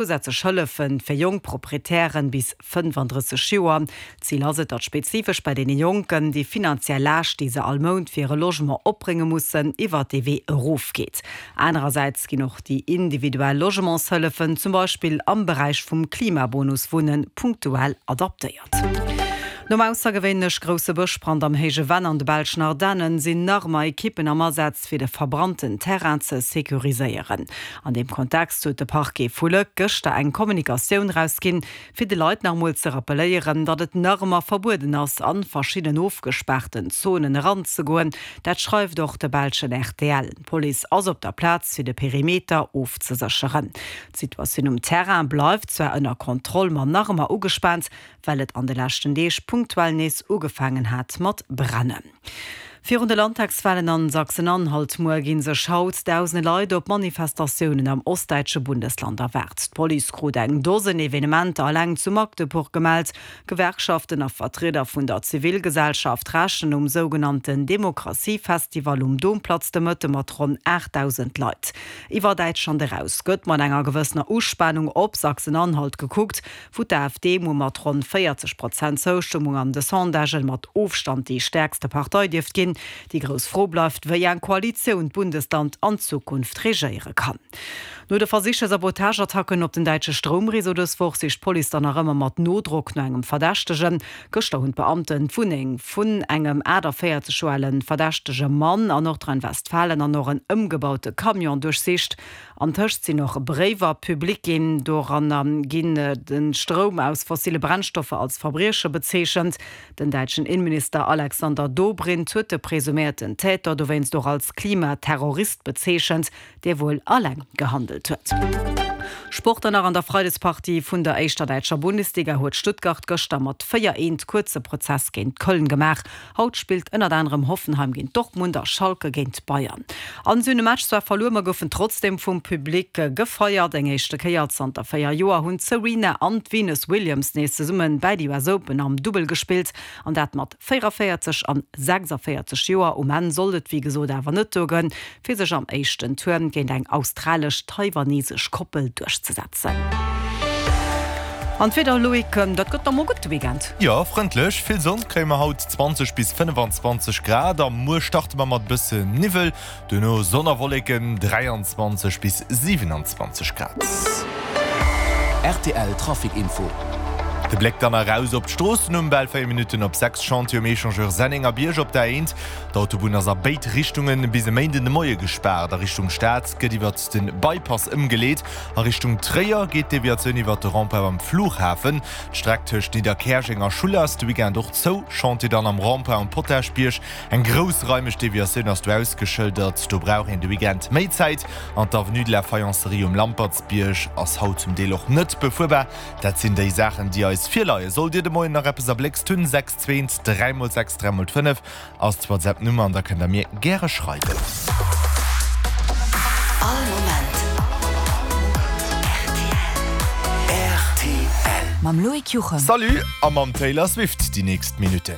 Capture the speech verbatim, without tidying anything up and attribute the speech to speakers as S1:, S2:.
S1: Zousätzlech Hëllefe fir jonk Proprietären bis fënnefandrësseg Joer. Zil ass et, datt spezifesch bei deene Jonken déi finanziell Laascht, déi se all Mount fir hire Logement opbrénge mussen, iwwert dee Wee erofgeet. Anerersäits ginn och déi individuell Logementshëllefen, zum Beispill am Beräich vum Klimabonus Wunnen, punktuell adaptéiert. Nom aussergewéinlech grousse Bëschbrand am Héije Venn an de belschen Ardennen sinn nach ëmmer Ekippen am Asaz fir de verbrannten Terrain ze securiséieren. An deem Kontext huet de Parquet vu Lëck gëschter eng Kommunikatioun rausginn, fir de Leit nach emol ze rappelléieren, datt et nach ëmmer verbueden ass, an verschidden ofgespaarten Zonen eranzegoen. Dat schreift och de belschen rtl. D'Police ass op der Plaz fir de Perimeter ofzesécheren. D'Situatioun um Terrain bleift zwar ënner Kontroll, ma nach ëmmer ugespaant, well et an de leschten Deeg punktuell nees ugefaangen hat mat brennen. Virun de Landtagswalen an Sachsen-Anhalt muer gi sech haut dausende Leit op Manifestatiounen am ostdäitsche Bundesland erwaart. D'Police krut eng Dosen Evenementer eleng zu Magdeburg gemellt. Gewerkschaften a Vertrieder vun der Zivilgesellschaft rechnen um sougenannten Demokratiefestival um Domplatz de Mëtte mat ronn aachtdausend Leit. Iwwer Däitschland eraus gëtt mat enger gewëssener Uspanung op Sachsen-Anhalt gekuckt, wou d'AfD muer mat ronn véierzeg Prozent Zoustëmmung an de Sondagen mat Ofstand déi stäerkste Partei dierft ginn. Déi grouss Fro bleift, wéi eng Koalitioun d'Bundesland an Zukunft regéiere kann. No de versichte Sabotageattacken op den däitsche Stroumreseau dës Woch sicht d'Police dann nach ëmmer mat Nodrock no engem Verdächtegen. Gëschter hunn d'Beamten d'Wunneng vun engem aachtavéierzeg Joer ale verdächtege Mann an Nordrhein-Westfalen an och en ëmgebaute Camion duerchsicht. Antëscht sinn och Bréiwer public ginn. Doranner ginn de Stroum aus fossille Brennstoffer als Verbrieche bezeechent. Den däitschen Inneminister Alexander Dobrindt huet de presuméierten Täter dowéinst och als Klimaterrorist bezeechent, dee wuel alleng gehandelt huet. Sport dann nach, An der Freidespartie vun der éischter däitscher Bundesliga huet Stuttgart gëschter mat véier eent kuerze Prozess géint Köln gemaach. Haut spillt ënnert anerem Hoffenheim géint Dortmund a Schalke géint Bayern. An si hunn de Match zwar verluer, ma goufen trotzdeem vum Public gefeiert. Eng éischte Kéier zanter véier Joer hunn d'Serena an d'Venus Williams nees zesumme bäi de U S Open am Dubbel gespillt an dat mat véierundavéierzeg an sechsavéierzeg Joer. Um Enn sollt et wéi gesot awer net duergoen, fir sech am éischten Tour géint eng australesch-taiwanesesch Koppel duerchzesetzen. An d'Wieder, Loïc, dat gëtt da mol gutt de Weekend.
S2: Jo, frëndlech, vill Sonn kréie mer haut, zwanzeg bis fënnefanzwanzeg Grad, a muer starte mer mat bësse Niwwel, duerno Sonn a Wolleken, dräianzwanzeg bis siwenanzwanzeg Grad.
S3: Rtl Trafic Info.
S2: De Bléck dann eraus op d'Stroossen um bal véier Minutten op sechs, Chantier um Echangeur Sennengerbierg op der A eent. D'Autobunn ass a béid Richtunge bis e Méinden de Moie gespaart. A Richtung Stad gëtt iwwert de Bypass ëmgeleet. A Richtung Tréier geet d'Deviatioun iwwert de Rond-point beim Flughafen. D'Streck tëscht Nidderkäerjeng a Schuller ass de Weekend och zou. Chantier dann am Rond-point um Potaschbierg. Eng groussraimeg Deviatioun ass do ausgeschëldert. Do brauch een de Weekend méi Zäit. An d'Avenue de la Faïencerie um Lampertsbierg ass haut zum Deel och net befuerbar. Dat sinn déi Saachen, déi eis virleien. Sollt Dir de Moien nach eppes erbléckst hunn, sechs zwee dräi mol sechs dräi mol fënnef ass d'WhatsApp-Nummer an da kënnt Der mir gäre schreiwen.
S4: All Moment rtl.
S5: Mam Loïc Juchem.
S2: Salut a mam Taylor Swift déi nächst Minutten.